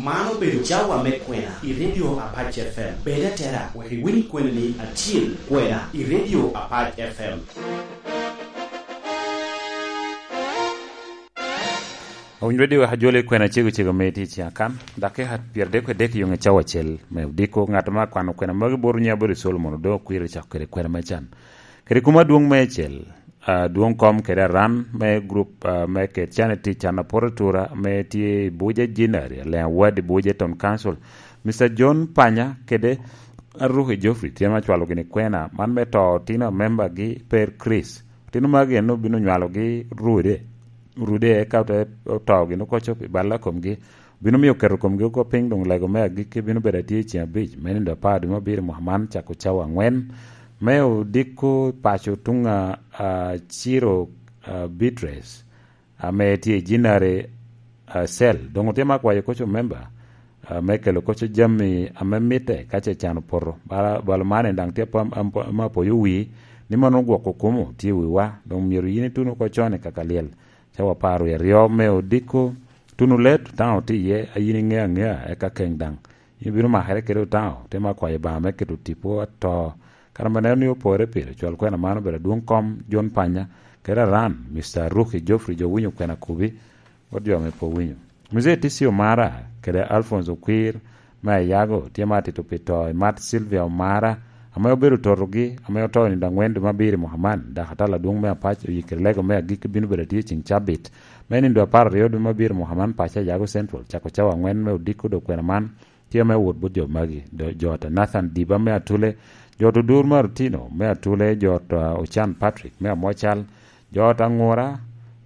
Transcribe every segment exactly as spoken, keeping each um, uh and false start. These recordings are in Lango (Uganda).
Man obedo cawa me kwena i Radio Apac F M. Bed atera, wek iwiny kwena ni acil kwena i Radio Apac F M. Owiny Radio wek ajoli kwena cego cego me tye i ciŋ akan, dakika pyeradek kede adek i yoŋe cawa acel me odiko. Ŋat ma akwano kwena magi bot nyiŋe abedo Solomon Odongo Okwiri, cako kede kwena me can. Kede kuma adwoŋ me acel, adwoŋ kom kede aran me gurup, ah, me kec can i tic can apoto atura me tye i Buja Jinari, Alea Ward i Buja Town Council, Mister John Panya kede Aruki Geoffrey tye ma cwalo gini kwena man me to otino amembagi Per Chris. Otino magi en obino nywalogi rude, rude eka ote oto gini oko cop i balla komgi. Obino miyo keto komgi oko piny, doŋ lego me agikki bino bedo atye i ceng abic me nino apar dwe me abiro mwaka man, cako cawa angwen me odiko paco tuŋ a, a Ciro, a, Beatrice, ame tye i Jinare, a, Cell. Doŋ otye ma kwayo koco memba, a, me kelo koco jami ame mitte ka ce can opoto. Bala, bala man en daŋ tye apam-, am-, ame apoyo wi, ni mano gwoko kumo tye i wiwa. Doŋ myero yin itun oko con i kaka lyel. Cawa apar wie aryo me odiko, tuno let, Otaŋo tye iye, a yin iŋeo aŋea, eka keŋ daŋ. Yin ibino makere kede Otaŋo, te ma kwayo Obaŋa me keto tipo ato. Kara ma neno ni opore pire, cwal kwena man obedo adwoŋ kom John Panya, kede aran, Mister Aruki Geoffrey, jo winyo kwena kubi, bot jo ame pe owinyo. Muzee Tisi Omara, kede Alphonse Okwir, me Ayago, tye ma atito pi to i Mat Sylvia Omara, ame obedo totogi, ame oto i nino angwen dwe me abiro i mwaka man, dok atala adwoŋ me Apac oyikere lego me agikki bino bedo atye i ceng cabit, me nino dwe apar aryo dwe me abiro i mwaka man, paco Ayago Central, cako cawa angwen me odiko dok kwena man, tye ame owot bot jo magi, do-, jo ata Nathan Diba me Atule, jo ata Odur me Arutino me Atule, jo ata Ocan Patrick me Amocal, jo ata Aŋura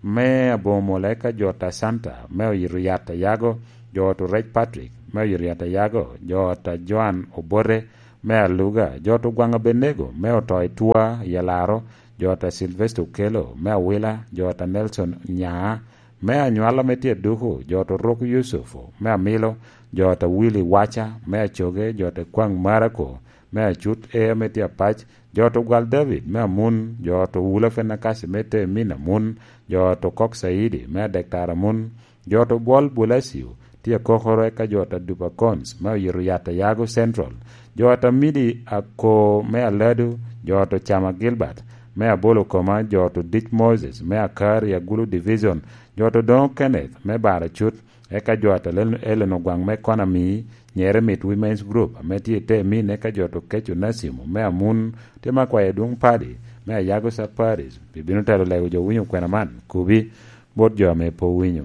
me Aboŋo Mula, eka jo ata Santa me Oyito Yat Ayago, jo ata Orec Patrick me Oyito Yat Ayago, jo ata Joan Obote me Aluga, jo ata Ogwaŋ Abenego me oto i Twa i Alaro, jo ata Sylvester Okello me Awila, jo ata Nelson Nyaa me Anywala me tye Aduku, jo ata Orok Yucufu me Amilo, jo ata Willy Waca me Acoge, jo ata Kwaŋ Marako me Acut Ea me tye Apac, jo ata Ogwal David me Amun, jo ata Owula Fenakasi me Temin Amun, jo ata Okok Caidi me Adektar Amun, jo ata Obwol Bulacio tye Akokoro, eka jo ata Dupa Cons me Oyito Yat Ayago Central, jo ata Midi Ako me Aladu, jo ata Ocama Gilbert me Abolo Koma, jo ata Odic Moses me Akar i Agulu Division, jo ata Odoŋo Kenneth me Baracut, eka jo ata Len-, Ellen Ogwaŋ me Konami, Nyere Mit Women's Group ame tye i Temin, eka jo ata Okeco Nasimo me Amun, tye ma kwayo adwoŋ padi me Ayago Sub Parish, bibino telo lego jo winyo kwena man, kubi bot jo ame pe owinyo.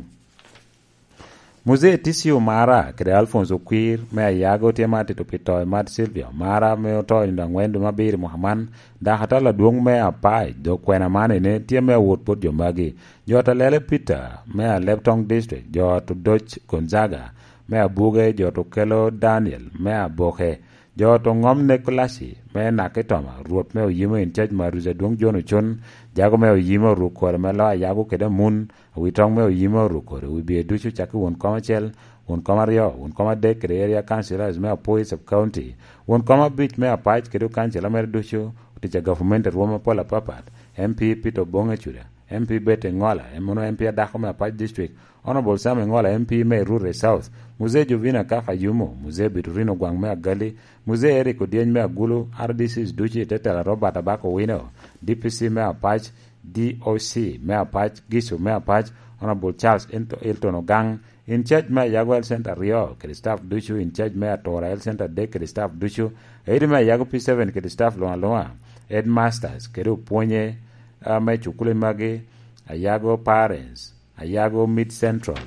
Muzee Tisi Omara kede Alphonse Okwir me Ayago tye ma atito pi to i Mat Sylvia Omara, ame oto i nino angwen dwe me abiro i mwaka man, dok atala adwoŋ me Apac, dok kwena man ene tye me awot bot jo magi. Jo ata Lele Peter me Alebtong District, jo ata Odoc Gonzaga me Abuge, jo ata Okello Daniel me Aboke, jo ata Oŋom Nekolaci me Nakitoma, Rwot me Oyimo in charge Maruca Adwoŋ John Ocon, jago me Oyimo Orukore me Loo Ayago kede Amun, Awitoŋ me Oyimo Orukore, Wibye ducu cakki won kom acel, won kom aryo, won kom adek kede area councillors me Apwoyo Sub County, won kom abic me Apac kede okancila mere ducu, otic a gavumenti a rwom apol apapat, M P Peter Oboŋe Cuda, M P Betty Ŋola, en mano M P adako me Apac District, Honourable Sam Ŋola, M P me Rurre South, Muzee Jovina Kaka Yumo, Muzee Biturino Gwaŋ me Agali, Muzee Eric Odyeny me Agulu, R D Cs ducu i te tela Robert Abak Owino, D P C me Apac, D O C me Apac, Gicu me Apac, Honourable Charles Ento-, Elton Ogang, in charge me Ayago Health Centre aryo kede staff ducu, in charge me Atura Health Centre adek kede staff ducu, aidi me Ayago P seven kede staff luŋ aluŋa, headmasters kede opwonye, ah, me cukule magi, Ayago Parents, Ayago Mid Central,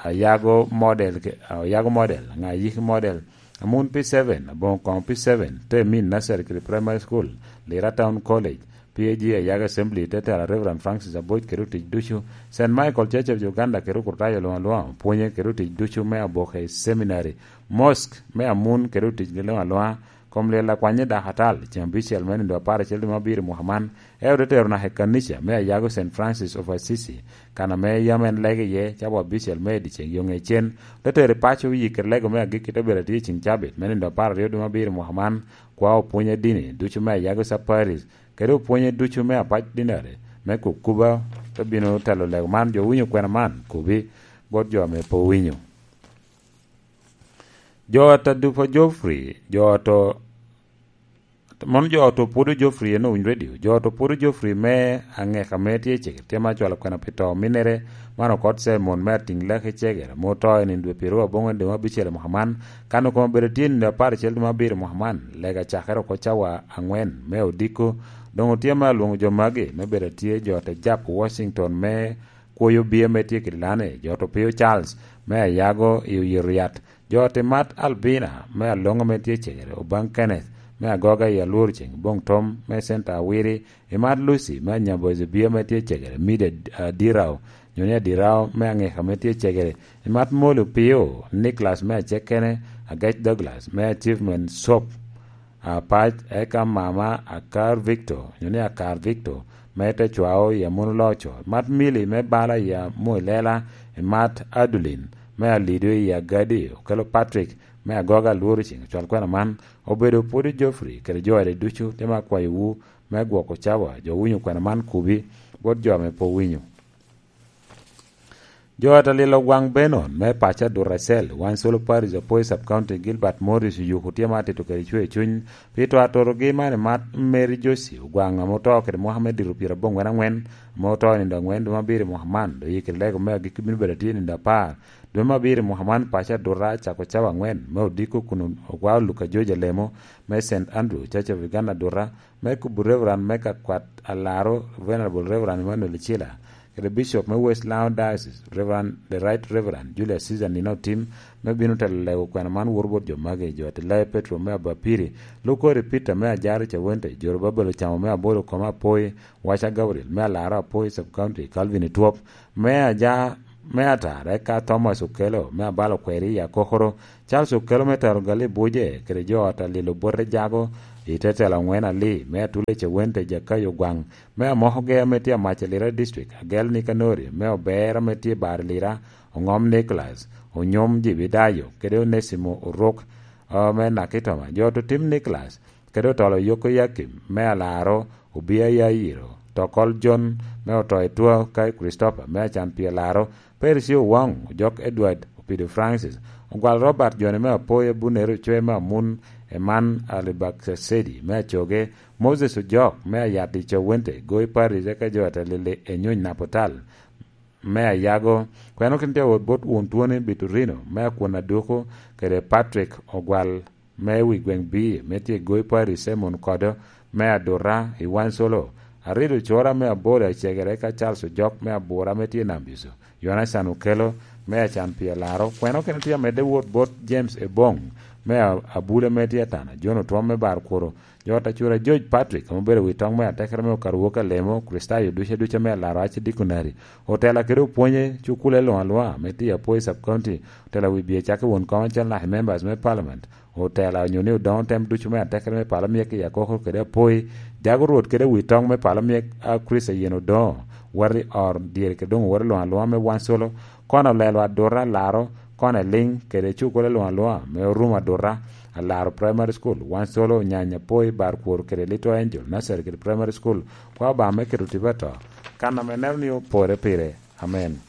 Ayago Model ke-, Ayago Model, ŋa Yiki Model, Amun P seven, Aboŋo Koŋo P seven, Temin Nursery kede Primary School, Lira Town College, P A G Ayago Assembly, te tela Reverend Francis Aboc kede otic ducu, Saint Michael Church of Uganda kede okurtayo luŋ aluŋa, opwonye kede otic ducu me Aboke Seminary, Mosque me Amun kede otic gi luŋ aluŋa, kom lyel akwanye dakatal, ceŋ abicel me nino apar acel dwe me abiro i mwaka man, eo te tero naka i kanica me Ayago Saint Francis of Assisi, kan ame yam en lege iye, cawa abicel me i dyeceŋ yoŋe cen, te tero i paco, yikere lego me agikki te bedo atye i ceŋ cabit me nino apar aryo dwe me abiro i mwaka man, kwa opwonye dini ducu me Ayago Sub Parish, kede opwonye ducu me Apac Dinari me Kukuba, te bino telo lego man, jo owinyo kwena man, kubi bot jo ame pe owinyo. Jo ata dupa Geoffrey, jo oto, mono jo oto pwodo Geoffrey en owiny radio. Jo oto pwodo Geoffrey me angeka me tye i cegere, tye ma cwalo kwena pi to minnere, man okot Simon me atiŋ lek i cegere, ma oto i nino dwe pyeraryo aboŋwen dwe me abicel i mwaka man, kan okoma bedo tye i nino apar acel dwe me abiro i mwaka man, lega cakere oko cawa angwen me odiko. Doŋ otye me alwoŋo jo magi me bedo atye jo te jap Washington me kwoyo bia me tye kede lane, jo oto Pio Charles me Ayago i Oyito Yat, jo oto Imat Albina me Aloŋo me tye cegere, Obaŋ Kenneth me Agoga i Alwor Ceng, Boŋ Tom me Center Awiri, Imat Lucy me Anyabo Zebia me tye cegere, Mida Adirao, nyo ni Adirao me Angeka me tye cegere, Imat Molo Pio, Nicholas me Acekene, Agec Douglas me Achievement Shop, Apac, eka mama Akar Victor, nyo ni Akar Victor, me te cwao i Amuno Loco, Mat Mili me bala i Amuilela, Mat Adulin me Alido i Agadi, okelo Patrick me Agoga Alworo Ceng, ocwal kwena man, obedo pwod i Geoffrey kede jo ade ducu, te ma akwayowu me gwoko cawa, jo winyo kwena man kubi, bot jo ame pe owinyo. Jo ata lilo gwaŋ Benon me paco Aduta Cell, Wansolo Parish, Apoi Sub County, Gilbert Morris oyuko tye ma atito kede cwer cuny pi to atorogi man i mat Mary Josie Ogwaŋ ame oto kede mwaka me dito pyerabongwen angwen, ame oto i nindo angwen dwe me abiro i mwaka man, dok yikere lego me agikki bino bedo atye i nindo apar dwe me abiro i mwaka man. Paco Aduta cako cawa angwen me odiko kun ogwao Luka George Alemo me Saint Andrew Church of Uganda Aduta, me kubo Reverend me ka kwat Alaro, Venerable Reverend Emmanuel Chila, kede Bishop me West Nile Diocese, Reverend, the Right Reverend Julius Caesar Nino Otim, me bino telo lego kwena man woro bot jo magi, jo Atilai Petro me Abapiri, Lukori Peter me Ajari Cawente, Joro Babel Ocamo me Abolo Koma Apoi, Waca Gabriel me Alaro Apoi Sub County, Calvin Etwop me Aja, me Atara, eka Thomas Okelo me Abalo Kweri i Akokoro, Charles Okelo me Tero Gali Buje, kede jo ata lilo bote jago i te telo angwen Ali me Atule Cewente Jakayo Gwaŋ, me Amoko Gea me tye Amac Lira District, Agel Nikanori me Obera me tye Bar Lira, Oŋom Nicholas, Onyom Jibidayo, kede Onesimo Oruk, ah, me Nakitoma, jo oto Tim Nicholas, kede otolo Yoko Yakim me Alaro, Obia Yayiro, Tokol John me oto i Twa, ka Christopher me Acan Pye Laro, Percy Owaŋ, Ojok Edward, Opido Francis, Ogwal Robert Joni me Apoya, Bunere Ocwe me Amun, Eman Alibak Sedi me Acoge, Moses Ojok me Ayat i Cawente, Goi Paris, eka jo ata lili Enyony Napotal me Ayago, kweno kin tye awot bot wun Twoni Biturino me Akwon Aduku, kede Patrick Ogwal me wi gweŋ Bii, me tye Goi Parish, Simon Kodo me Aduta i Wansolo, Arido Cora me Abolo Acegere, ka Charles Ojok me Abura me tye Nam Biso, Yonacan Okelo me Acan Pye Laro, kweno kene tye amedde wot bot James Ebong me A-, Abule me tye Atana, John Otwom me Bar Kuro, jo ata Cura George Patrick, ame obedo wi toŋ me atekere me Okaruok Alemo, Kricitayo ducu aduca me Alaro Aci Dikonari, otela kede opwonye, cukule luŋ aluŋa me tye Apoi Sub County, otela wi bye cak i won kom acel naka i members me parliament, otela onyo ni odoŋo tem ducu me atekere me pala myek i Akoko kede Apoi, jago Rwot kede wi toŋ me pala myek a Kricito yen odoŋo, wati or dyere kede doŋ woti luŋ aluŋa me Wansolo, kono olelo Aduta Alaro, kono eliŋ kede cukule luŋ aluŋa me Orumo Aduta, Alaro Primary School, Wansolo, Onyanya Apoi, Bar Kwor kede Little Angel Nursery kede Primary School, kwa Obaŋa me keto tipo ato, kan ame neno ni opore pire. Amen.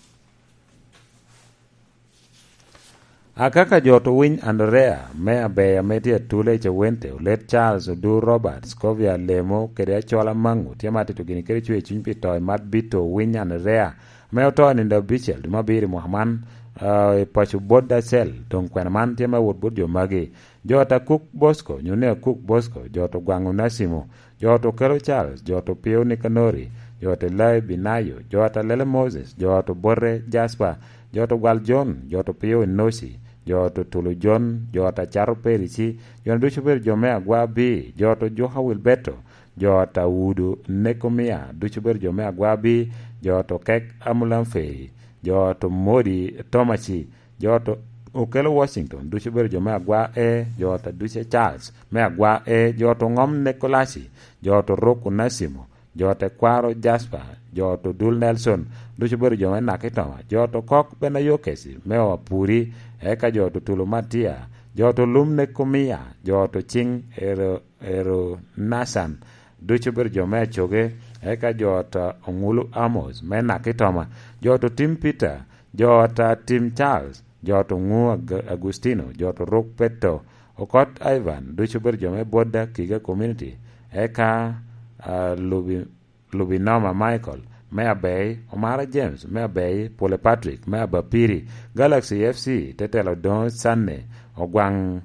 Akaka jo oto Winy Andrea me Abeya me tye Atule i Cawente, Olet Charles Odur Robert, Scovia Lemo, kede Acola Maŋu, tye ma atito gini kede cwer cuny pi to i mat Bito Winy Andrea, me oto i nino abicel dwe me abiro i mwaka man, ah, i paco bot Dacel, doŋ kwena man tye me wot bot jo magi. Jo ata Kuk Bosco, nyo ni Akuk Bosco, jo oto Gwaŋ Onasimo, jo oto Kelo Charles, jo oto Pio Nikanori, jo oto Elai Binayo, jo oto Lele Moses, jo oto Bote Jasper, jo oto Gwal John, jo oto Pio Enoci, jo oto Tulu John, jo oto Acato Perici, jo ducu obedo jo me Agwa Bii, jo oto Juka Wilberto, jo oto Audu Nekomia, ducu obedo jo me Agwa Bii, jo oto Kek Amulamfei, jo oto Modi Tomaci, jo oto Okelo Washington, ducu obedo jo me Agwa E, jo oto Duce Charles me Agwa E, jo oto Ŋom Nekolaci, jo oto Ruk Onasimo, jo oto Kwaro Jasper, jo oto Dul Nelson, ducu obedo jo me Nakitoma, jo oto Kok Benayokesi me Apuri, eka jo oto Tulu Matia, jo oto Lum Nekomia, jo oto Ciŋ Ero, Ero Nacan, ducu obedo jo me Acoge, eka jo oto Oŋulu Amos me Nakitoma, jo oto Tim Peter, jo oto Tim Charles, jo to Ŋu Ag-, Agustino, jo to Ruk Petto, Okot Ivan, ducu obedo jo me Bwodda Kiga Community, eka, ah, Lubi-, Lubinoma Michael me Abei, Omara James me Abei, Pule Patrick me Abapiri, Galaxy F C, te telo Doŋo Sanne, Ogwaŋ,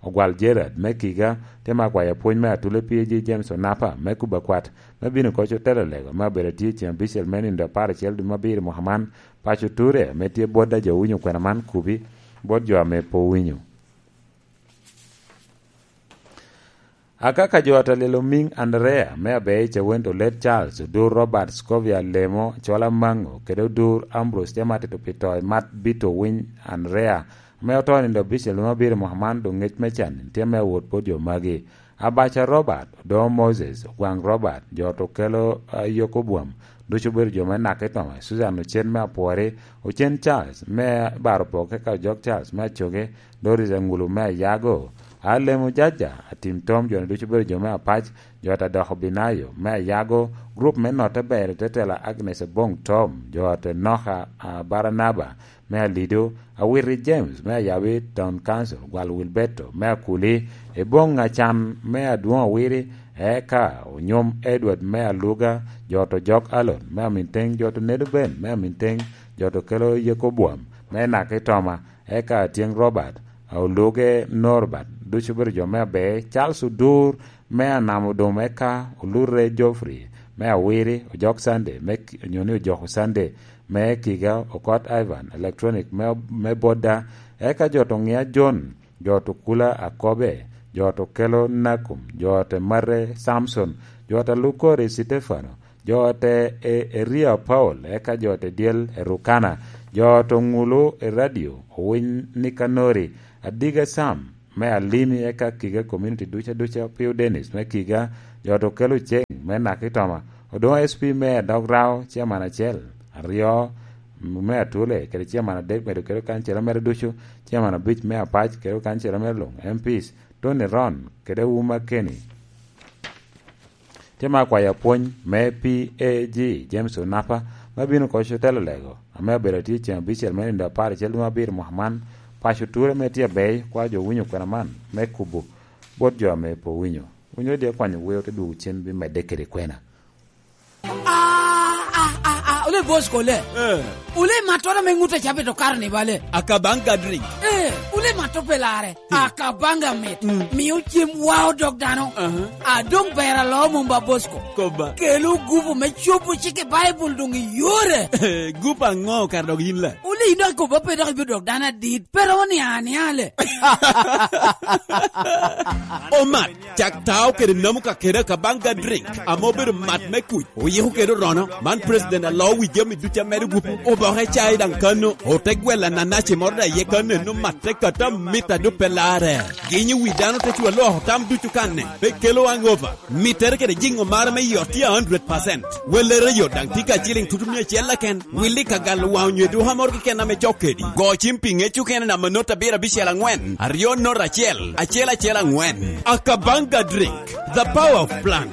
Ogwal Gerard me Kiga, te ma kwayo apwony me Atule P A G James Onapa me Kuba Kwat, me bino koc otelo lego, me abedo atye ceŋ abicel me nindo apar acel dwe me abiro mwaka man, paco Ture, ame tye bot a jo winyo kwena man kubi, bot jo ame pe owinyo. Akaka jo ata lelo miŋ Andrea, me Abei Cawento Late Charles, Odur Robert Scovia Lemo, Cola Maŋo, kede Odur Ambrose Tematito pi to i mat Bito Winy Andrea, ame oto nindo abicel me abiro mwaka man, doŋ ŋec me can tye me awot bot jo magi. Abaca Robert, Odoŋo Moses, Ogwaŋ Robert, jo to kelo, ah, Yoko Bwam, ducu obedo jo me Naka i Toma, Susan Ocen me Apwori, Ocen Charles me Baro Pok, eka Ojok Charles me Acoge, Doris Aŋulu me Ayago, Alemo Jaja, Atim Tom, jo-ni ducu obedo jo me Apac, jo ata doko Binayo me Ayago, gurup me Notte Ber, Tetela Agnes Aboŋ Tom, jo ata Enoka, ah, Baranaba, me Alido, Awiti James me Ayabi Town Council, Gwal Wilberto me Akuli, Eboŋ Acan me Adwoŋ Awiti, eka Onyom Edward me Aluga, jo to Jok Alon me Aminteŋ, jo to Nedo Ben me Aminteŋ, jo to kelo Yeko Bwam me Naka i Toma, eka Atyeŋ Robert, Oluge Norbert, ducu obedo jo me Abei, Charles Odur me Anamo Dum, eka Olure Geoffrey me Awiti, Ojok Sunday me Ki-, onyo ni Ojoko Sunday me Kiga, Okot Ivan, Electronic me, me Boda, eka jo to Ŋia John, jo to Kula Akobe, jo to kelo Nakum, jo to Mare Samson, jo to Lukori Sitefano, jo to E-, Eria Paul, eka jo to Dyel Erukana, jo to Ŋulu Eradio, Owiny Nikanori, Adiga Sam me Alimi, eka Kiga Community duca duca, Pio Dennis me Kiga, jo to kelo Ceng me Naka i Toma, Odoŋo S P me Adog Rao, Chairman acel, aryo, me Atule, kede Chairman adek, medo kede kancera mere ducu, Chairman abic me Apac, kede kancera mere luŋ, M Ps, Tony Ron, kede Uma Kenny. Tye ma akwayo apwony me P A G, James Onapa, ma bino koc otelo lego, ame abedo atye ceŋ abicel me nindo apar acel dwe me abiro mwaka man, paco Ture ame tye Abei, kwa jo winyo kwena man, me kubo bot jo ame pe owinyo. Winyo di akwanyo wer te dwogo cen bimedde kede kwena. Ah, ah, ah, ah, ole Bosco le. Eh. Ole mattora me ŋut a cabe to karo ni bale. Akabanga drink. Eh, ole matto pe lare. Hmm. Akabanga mit. Hmm. Mio cem wa odok dano. Aha. A dong ber alo mom ba Bosco. Koba. Kelo gupu me cobo cik i Baibul dong i yore. Gupu aŋo kara dok yin le? Ole ino akoba pe dok ibiro dok dano adit. Pero ni ania le. Omat. Cak tao kede namo ka kede Akabanga drink, ame obedo mat me kuc, oyiko kede orono. Man president alo wi jami ducu a medo gupu, oboke cai daŋ kano, ote gwelo ananaci moro daŋ iye kano, eno matte kata mita dupe lare. Ginyo wi dano te cwa loko tam ducu kanne, pe kelo hangover. Mittere kede jiŋo mara me yot tye a hundred percent. Wellere yot daŋ tye ka ciliŋ tutu mia acel keken. Willi ka galo waŋ onyo eduka moro keken ame cok kedi. Go cim pi ŋec okene namba not abiro abicel aŋwen, aryo not acel, acel acel aŋwen. Akabanga drink, the power of plant.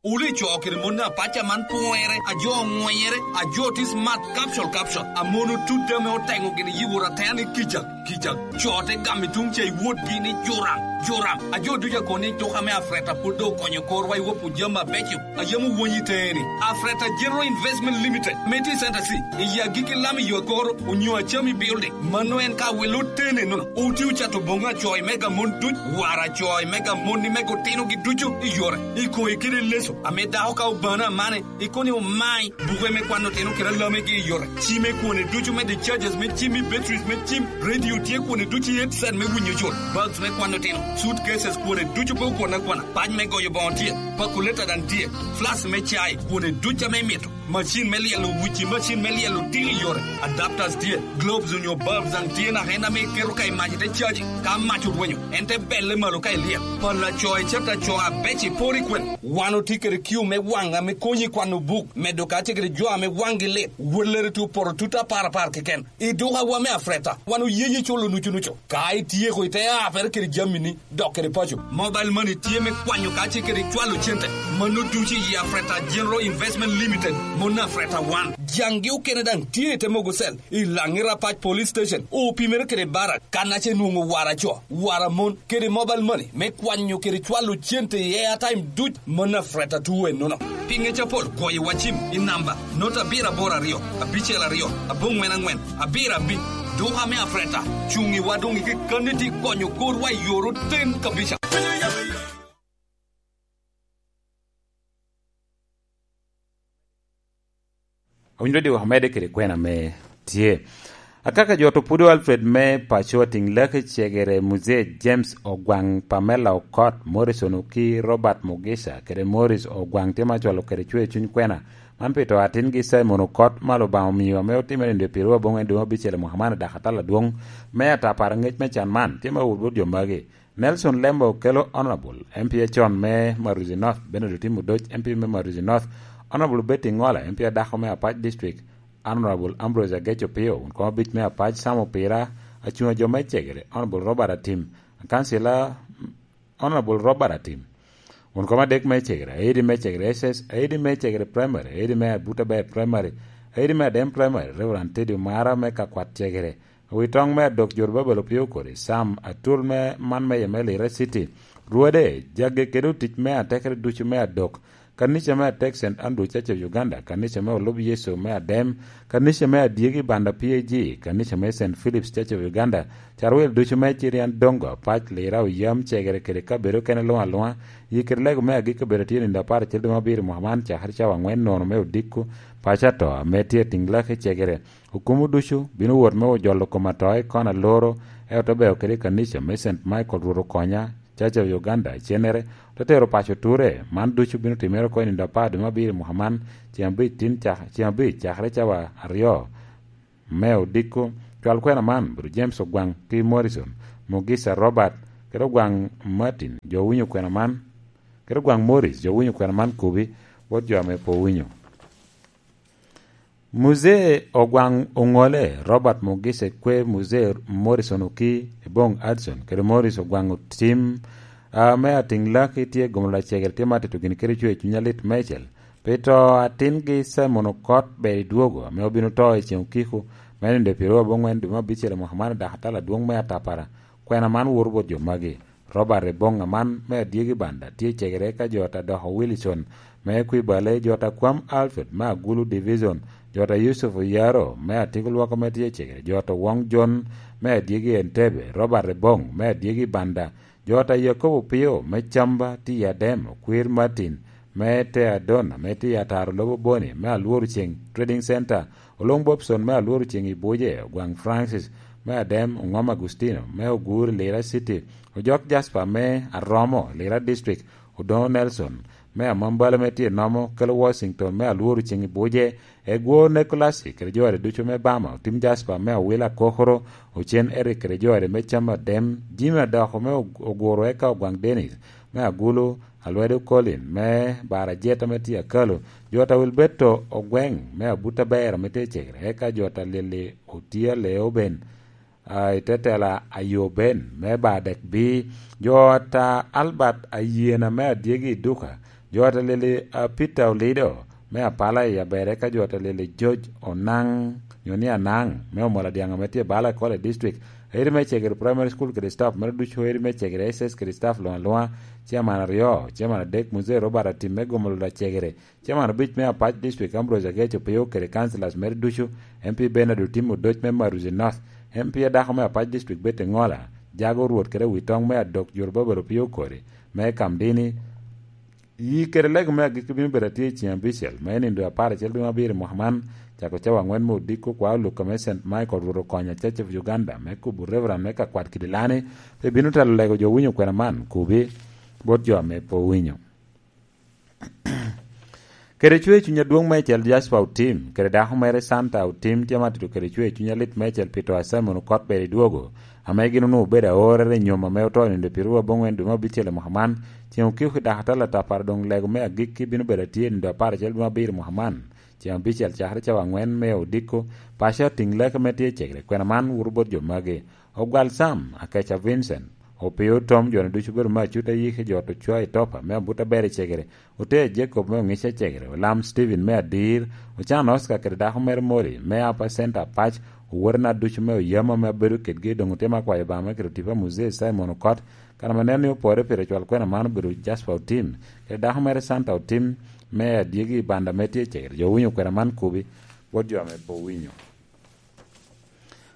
Wuli co kede mon apaca man pwere, a jo oŋwenyere, a jo tye smart capsule, capsule. A mon otut ame oteŋo gini yiwura teni kica. Kica, co te gamo i tuŋ ca i wotgi ni Joram, Joram. A jo ducu a kono ni tuka me Afreta pwod doŋ okonyo korwa i wopo jami abeco a yam owony i teŋe-ni. Afreta General Investment Limited, me tye i Center C, i agikki lam i yo akoro, onyo Acami Building. Mano en ka wel otene nono. Oti ocato boŋo acoy mega mon duc, wara acoy mega mon ni mega otinogi ducu i yore. I koŋe kede leso, ame dako ka obano amane, ikono ni omai buke me kwano otino kede alamegi i yore. Ci me kwone ducu me discharges me cim i batteries me cim, radio tye kwone ducu i headset me winyo col, bags me kwano otino, suitcases kwone ducu pe okwone akwana, pac me goyo boŋo tye, pakuleta daŋ tye, flask me cai kwone ducu ame imito, macin me lyelo wuci, macin me lyelo tiko i yore, adapters tye, globes onyo bulbs daŋ tye naka en ame iketo ka i mac ite caji, ka mac orwenyo, en te belle malo ka ilyel. Pala co icata co abec iporo i kwene. Wan otye kede kiu me waŋ ame konyi kwano buk, medo kacel kede jo ame waŋgi lit. Wellere tye opoto tut apar apar keken. I dukawa me Afreta, wan oye ye culo nucu nucu. Ka ityeko ite apere kede jamini, dok kede paco. Mobile money tye me kwanyo kacel kede cwalo cente. Mano ducu i Afreta General Investment Limited. Mon Afreta wan, jaŋgi okene daŋ tye i te mogo cel i Laŋira Pac Police Station, opimere kede Barak, kan ace nwoŋo wara co, wara mon, kede mobile money me kwanyo kede cwalo cente i airtime duc. Mon Afreta tuo ennono. Pi ŋec apol, goyo wa cim i namba not abiro aboro aryo, abicel aryo, aboŋwen aŋwen, abiro abic. Duka me Afreta cuŋ i wa doŋ i kekkanni ti konyo korwa i yor oten kabisa. Owinyo dok omedde kede kwena ame tye. Akaka jo to Pudo Alfred me paco, Atiŋ Laki Cegere, Muzee James Ogwaŋ, Pamela Okot, Morrison Oki, Robert Mugisha, kede Morris Ogwaŋ tye ma cwalo kede cwer cuny kwena. Man pi to atingi Simon Okot ma Lubanga omio ame otimere i dwe pyeru aboŋwen dwe me abicel i mwaka man i dakatala adwoŋ me atapara ŋec me can man tye ma owot bot jo magi. Nelson Lembo kelo Honorable M P acon me Maruzi North, Bernard Otim Odoc, M P me Maruzi North, Honorable Betty Ngola, M P adako me Apac District, Honorable Ambrose Ageco Pio, wun kom abic me Apac, Sam Opira, acuŋ a jo me Cegere, Honorable Robert Atim, kansila, Honorable Robert Atim, wun kom adek me Cegere, Aidi me Cegere S S, Aidi me Cegere Primary, Aidi me Abuta Bay Primary, Aidi me Adem Primary, Reverend Teddy Omara me Kakwat Cegere, Wi toŋ me adok Jorobabel opio kodi, Sam Atul me man me Yemelira City, Rwode, jagge kede otic me atekere ducu me adok, kanica me atek Saint Andrew Church of Uganda, kanica me Olub Yecu me Adem, kanica me Adyegi Banda P A G, kanica me Saint Philip's Church of Uganda, carwil ducu me Cirian Dongo, Apac, Lira, Oyam, Cegere kede kabedo okene luŋ aluŋa, yi kede lego me agikki obedo tye nindo apar acel dwe me abiro mwaka man, cakere cawa aŋwen nono me odiko, paco ato ame tye atiŋ laki Cegere. Okumo ducu bino wot me ojolo kom ato i kon aloro, ento te beo kede i kanica me Saint Michael Rwot Okonya, Church of Uganda, icennere, te tero paco ture. Man ducu bino timere oko i nindo apar dwe me abiro i mwaka man, ceŋ abic tin cak-, ceŋ abic cakere cawa aryo me odiko. Cwal kwena man, Bro James Ogwaŋ ki Morrison, Mugisa Robert, kede Ogwaŋ Martin, jo winyo kwena man, kede Ogwaŋ Morris, jo winyo kwena man kubi, bot jo ame pe owinyo. Muzee Ogwaŋ Oŋole, Robert Mugise kwe Muzee Morrison Oki, Ebong Adson, kede Morris Ogwaŋ Otim, ame atiŋ laki tye gomolo acegere tye ma tito gin kede cwer cuny alit meicel. Pi to atingi Simon Okot ber i dwogo, ame obino to i ceŋ okiko, me nindo pyeraryo aboŋwen dwe me abicel i mwaka man i dakatala adwoŋ me atapara. Kwena man woto bot jo magi. Robert Ebong aman me Adyegi Banda tye cegere ka jo ta Doko Wilson me Kwibale, jo ta Kwam Alfred me Agulu Division, jo ta Yusuf Oyaro me Atiko Lwoko me tye cegere, jo ta Wong John me Adyegi Entebbe, Robert Ebong me Adyegi Banda, jo ta Yakobo Pio me Camba tye i Adem, Okwir Martin me Teadon ame tye i Ataro Lobo Boni me Alworo Ceng Trading Center, Olong Bobson me Alworo Ceng i Buje, Ogwaŋ Francis me Adem, Oŋom Agustino me Ogur i Lira City, Ojok Jasper me Aromo, Lira District, Odoŋo Nelson me Amambala me tye nomo, kelo Washington me Alworo Ceng i Buje, Egwo Nicolas kede jo ade ducu me Bama, Otim Jasper me Awila Kokoro, Ocen Eric kede jo ade me Cam Adem, Jimmy Adoko me Og-, Oguro eka Ogwaŋ Dennis me Agulu, Alwedo Colin me Bara Jet ame tye Akalo, jo ta Wilberto Ogweŋ me Abuta Ber ame tye Cegere, eka jo ta Lili Otia Leo Ben, a, i te tela Ayo Ben me Badek Bi, jo ta Albert Ayena me Adyegi i Duka, jo ta Lili, a, Peter Olido me Apala i Aber, eka jo ta Lili George Onaŋ, nyo ni Anaŋ, me Omola Dyaŋ ame tye Bala College District, Eri me Cegere Primary School kede staff mere ducu, Eri me Cegere S S kede staff luŋ aluŋa, Chairman aryo, Chairman adek, Muzee Robert Atim me Gomolo Lacegere, Chairman abic me Apac District Ambrose Ageco Pio kede councillors mere ducu, M P Bernard Otim Odoc me Maruzi North, M P adako me Apac District Betty Ngola, Jago Rwot kede Witoŋ me Adok Jurubabel Opio Kori me Kamdini, Yi kede lego me agikki bino bedo atye i ceŋ abicel, me nindo apar acel dwe me abiro i mwaka man, cako cawa aŋwen me odiko kwa Olukka me Saint Michael Rwot Okonya Church of Uganda, me kubo Reverend me Kakwat Kidilani, pe bino telo lego jo winyo kwena man, kubi bot jo ame pe owinyo. Kede cwer cuny adwoŋ meicel Jasper Otim, kede dako mere Santa Otim tye ma tito kede cwer cuny alit meicel pi to a Simon Okot ber i dwogo, ame gin onwoŋo obedo aorere i nyom ame oto i nindo pyeraryo aboŋwen dwe me abicel i mwaka man, ceŋ okiko i dakatala atapara doŋ lego me agikki bino bedo atye i nindo apar acel dwe me abiro i mwaka man, ceŋ abicel cakere cawa aŋwen me odiko, paco atiŋ leke me tye cegere, kwena man woto bot jo magi. Ogwal Sam, Akeca Vincent, Opio Tom, jo-nu ducu obedo me acut ayiki, jo ocwa i Topa me abut aber i Cegere, Ote Jacob me Oŋic Acegere, Olam Steven me Adir, Ocan Oscar kede dako mere Molly me Apa Center Apac, owote na ducu me Oyamo ame abedo kedgi, doŋ otye me akwayo Obaŋa me kede tipo a Muzee Simon Okot, kan ame neno ni opore pire cwal kwena man obedo Jasper Otim, kede dako mere Santa Otim me Adyegi i Banda ame tye i Cegere. Jo owinyo kwena man kubi, bot jo ame pe owinyo.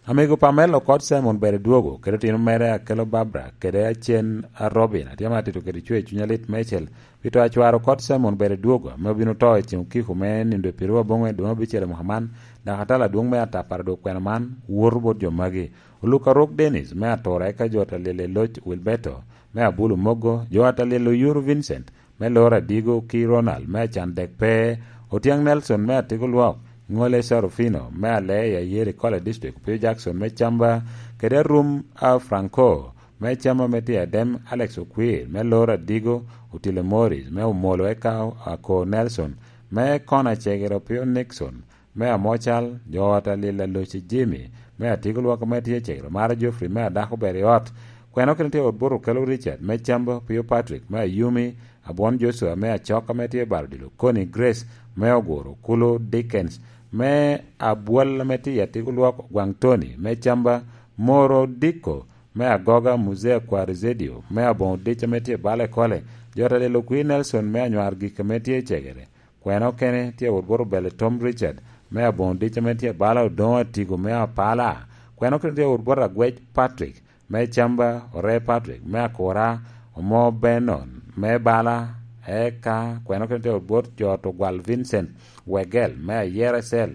Amego Pamela Okot Simon ber i dwogo, kede otino mere Akelo Barbara, kede acen a Robin, atye ma atito kede cwer cuny alit meicel, pi to a cware Okot Simon ber i dwogo, ame obino to i ceŋ okiko me nindo i pirwa boŋwe dwe me abicel i mwaka man, dok atalo adwoŋ me atapara dok kwena man, woto bot jo magi. Oluka Rok Dennis, me Atura, eka jo Atalil i Loc Wilberto, me Abulu Mogo, jo Atalil Oyuru Vincent, me Loro Adigo ki Ronald me Acan Dek Pe, Otyang Nelson me Atiko Lwok, Ŋole Sarufino me Aleya Yeri Kole District, Opio Jackson me Camba, kede Arum a Franco me Camba me tye Adem, Alex Okwir me Loro Adigo, Otile Morris me Omolo eka Ako Nelson me Kona Cegere, Opio Nixon me Amocal, jo ot Alil Aloci Jimmy me Atiko Lwok ame tye Cegere, Mara Geoffrey me Adako Ber i Ot, kweno kene tye Wot Bot Okelo Richard me Camba, Opio Patrick me Ayumi, Abwon Joshua me Acok ame tye Baro Dilo, Connie Grace me Oguro, Kulu Dickens me Abwal ame tye i Atiko Lwok, Gwaŋ Tony me Camba, Moro Dikko me Agoga, Muzee Akwari Zedio me Aboŋo Dic ame tye Bale Kole, jo ot Alil Okwir Nelson me Anywar Gik ame tye Cegere, kwena okene tye Wot Bot Obele Tom Richard me Aboŋo Dic ame tye Bala, Odoŋo Atigo me Apala, kwena okene tye Wot Bot Agwec Patrick me Camba, Ore Patrick me Akura, Omo Benon me Bala, eka kwena okene tye Wot Bot jo ot Ogwal Vincent Wegel me Ayera Cell,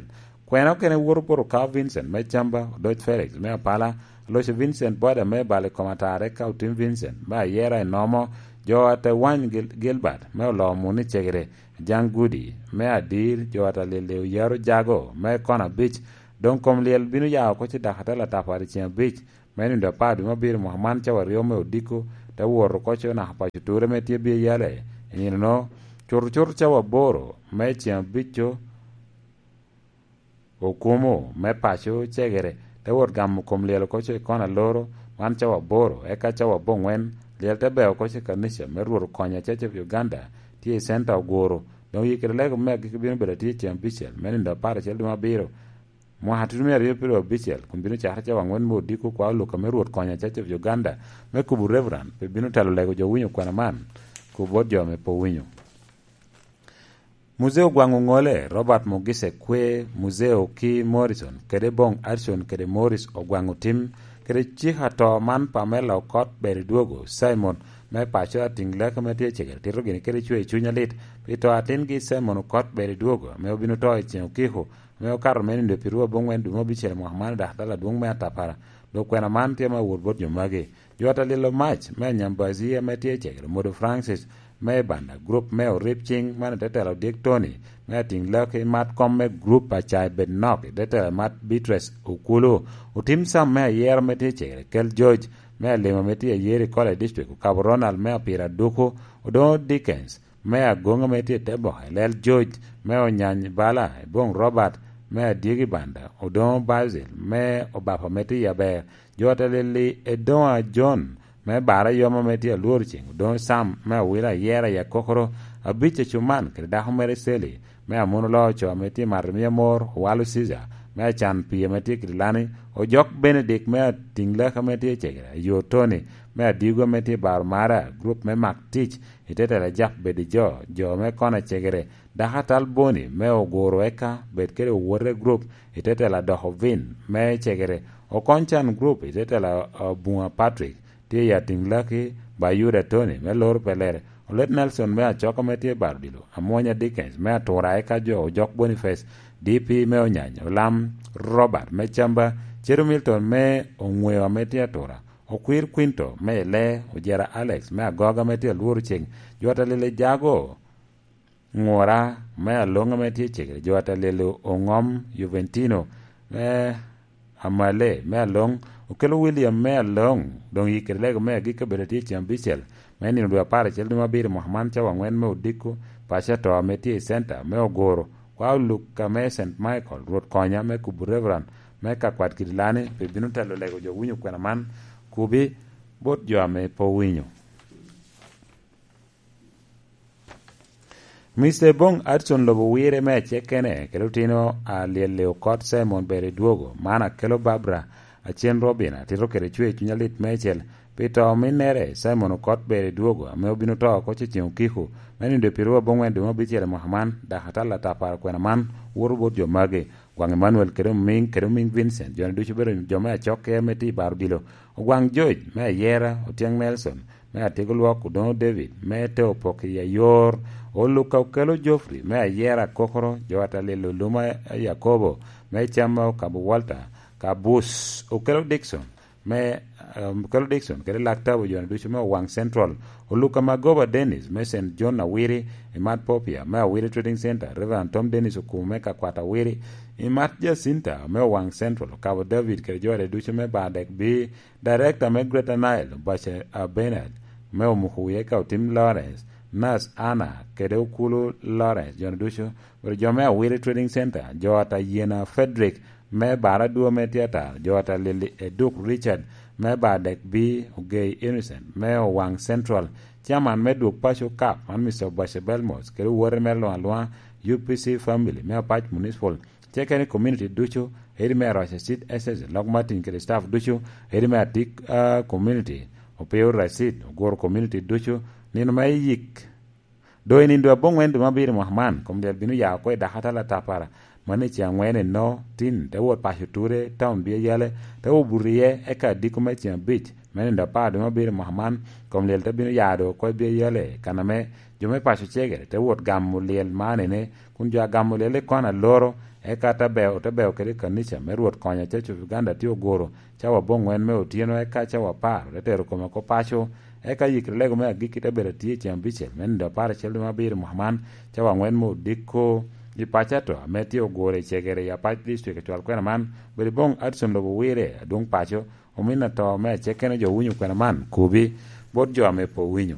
kwena okene Wot Bot Okawo Vincent me Camba, Odoc Felix me Apala, Aloco Vincent Boda me Bala i kom Atara, eka Otim Vincent me Ayera i Nomo, jo ot Ewany Gil-, Gilbert me Olomo ni Cegere, Jaŋ Gudi me Adir, jo ot Alili Oyaro Jago me Kona Abic, doŋ kom lyel bino ya oko ci dako atela tapo i ceŋ abic me nindo apar dwe me abiro mwaka man cawa aryo me odiko, te wot oko co naka paco ture me tye bye yale i nino-no, cuto cuto cawa aboro me ceŋ abic-co, okumo me paco Cegere, te wot gamo kom lyel oko co i Kona Loro, man cawa aboro, eka cawa aboŋwen, lyel te beo oko co i kanica me Rwot Okonya Church of Uganda, tye i Center Oguro, doŋ yikere lego me agikki bino bedo atye i ceŋ abicel me nindo apar acel dwe me abiro, mwaka tutumia aryo pyeraryo abicel, kun bino cakere cawa aŋwen me odiko kwa Oluka me Rwot Konya Church of Uganda, me kubo Reverend, pe bino telo lego jo winyo kwena man, kubo bot jo ame pe owinyo. Muzee Ogwaŋ Oŋole, Robert Mogise Kwe, Muzee Oki Morrison, kede Boŋ Arson kede Morris Ogwaŋ Otim, kede cik ato man Pamela Okot Ber i Dwogo, Simon, me paco Atiŋ Lek ame tye Cegere, tito gini kede cwer cuny alit, pi to atingi Simon Okot Ber i Dwogo, ame obino to i ceŋ okiko, ame okato me nindo pi rwo aboŋwen dwe me abicel mwaka man i dakatal adwoŋ me Atapara, dok kwena man tye me awot bot jo magi. Jo ot Alilo Mac me Anyambazi ame tye i Cegere, Modo Francis me Ibanda, gurup me Orib Ciŋ man i te telo Odyek Tony me Atiŋ Lek i mat kom me gurup Acai Bed Nok i te telo mat Beatrice Okulu, Otim Sam me Ayero ame tye i Cegere, Kel George me Alimo ame tye Ayeri College District, Okabo Ronald me Apira Duku, Odoŋo Dickens, me Agoŋ ame tye i te boke, Lel George me Onyany Bala, Eboŋ Robert me Adyegi Banda, Odoŋo Basil me Obapa ame tye i Aber, jo ot Alili Edoŋa John me Bara Yom ame tye Alworo Ceŋ, Odoŋo Sam me Awila Ayera i Akokoro, Abic Acuman kede dako mere Seli me Amuno Loo Oco ame tye i Mato Miyo Amor, Owalo Caesar me Acan Pii ame tye i Kitilani, Ojok Benedict me Atiŋ Lek ame tye i Cegere, Ayo Tony me Adigo ame tye i Baro Mara, gurup me Mak Tic, i te telo Ajak Bed i Jo, jo me Kona Cegere, dako atal Boni me Oguro eka bed kede owote gurup i te telo Adoko Vin me Cegere, Okony Can gurup i te telo Abuŋa Patrick, tye i Atiŋ Laki, Bayuda Tony me Loro Pelere, Olet Nelson me Acoka ame tye i Baro Odilo, Amwonya Dickens me Atura eka jo Ojok Boniface, D P me Onyany, Olam Robert me Camba, Cedo Milton me Oŋweo ame tye Atura, Okwir Quinto me Ile, Ojera Alex me Agoga ame tye Alworo Ceŋ, jo ot Alili Jago, Ŋura me Aloŋ ame tye Cegere, jo ot Alili Oŋom Juventino me Amale me Aloŋ, Okelo William me Aloŋ, doŋ yikere lego me agikki obedo tye i ceŋ abicel me nino dwe apar acel dwe me abiro mwaka man cawa aŋwen me odiko, paco ato ame tye i Center me Oguro, kwa Oluka me Saint Michael, Rwot Konya me kubo Reverend me Kakwat Kidilani, pe bino telo lego jo winyo kwena man, kubi Bot jo ame pe owinyo. Mister Bong Adson lobo wirre me acekene kede otino a lyelle okot Simon ber i dwogo, man akelo Barbara Acen Robin atito kede cwer cuny alit meicel pi to ominnere. Simon okot ber i dwogo ame obino to oko cecen okiko me nindo i pirwa aboŋwen dwe me abicel i mwaka man, dok atal atapara kwena man woto bot jo magi. Gwaŋ Emmanuel kede omiŋ kede omiŋ Vincent, jo-ni ducu obedo jo me acokke ame tye i bar odilo. Ogwaŋ George me Ayera, Otyeng Nelson me Atego Lwok, Odoŋo David me te Opok i Ayor, Oluka okelo Geoffrey me Ayera Kokoro, jo atalil Oluma Yakobo me Cam me Okabo Walter, Kabus okelo Dickson me, um, okelo Dickson kede Lak Tabo, jo-ni ducu me Owaŋ Central, Oluka Magoba Dennis me Saint John Awiri, Imat Popia me Awiri Trading Center, Reverend Tom Dennis Okumu me Kakwat Awiri, Imat Jacinta me Owaŋ Central, Okabo David kede jo-ni ducu me Badek B, Director me Greater Nile, Bache, uh, Bernard, me Omuku Wiye ka Otim Lawrence, Nurse Anna, kede Okulu Lawrence, jo-ni ducu, kede jo me Awiri Trading Center, jo Atayena Frederick, me Baradwo me Theater, jo Atalili Eduk Richard, me Badek B, Ogei Innocent, me Owaŋ Central, Chairman me Dwog Paco Cup, man Mister Bache Belmos, kede owote mere luŋ aluŋa, U P C family, me Apac Municipal, Cekeni community ducu, edi me Aroca City S S, Lok Martin kede staff ducu, edi me Atik, ah, community, Opio Racid, Oguro community ducu, nino me yik. Doŋ i nindo aboŋwen dwe me abiro mwaka man, kom lyel bino ya oko i dakatal atapara, mano i ceŋ aŋwen eno, tin, te wot paco ture, taun bia yale, te wot buto iye, eka adiko me ceŋ abic, me nindo apar dwe me abiro mwaka man, kom lyel te bino ya doŋ oko i bia yale, kan ame jo me paco cegere te wot gamo lyel man ene, kun jo a gamo lyel i kon aloro, eka te beo, te beo kede kanica me Rwot Konyo Church of Uganda tye oguro cawa aboŋwen me otyeno, eka cawa apar te tero kome oko paco, eka yikre lego me agikki te bedo atye i ceŋ abicel me nindo apar acel dwe me abiro mwaka man, cawa aŋwen me odiko i paco ato ame tye oguro i cegere i Apac District i cwal kwena man, bedo i boŋ Addison lobo Wire, adwoŋ paco, omin ato me acekene jo winyo kwena man, kobi bot jo ame pe owinyo.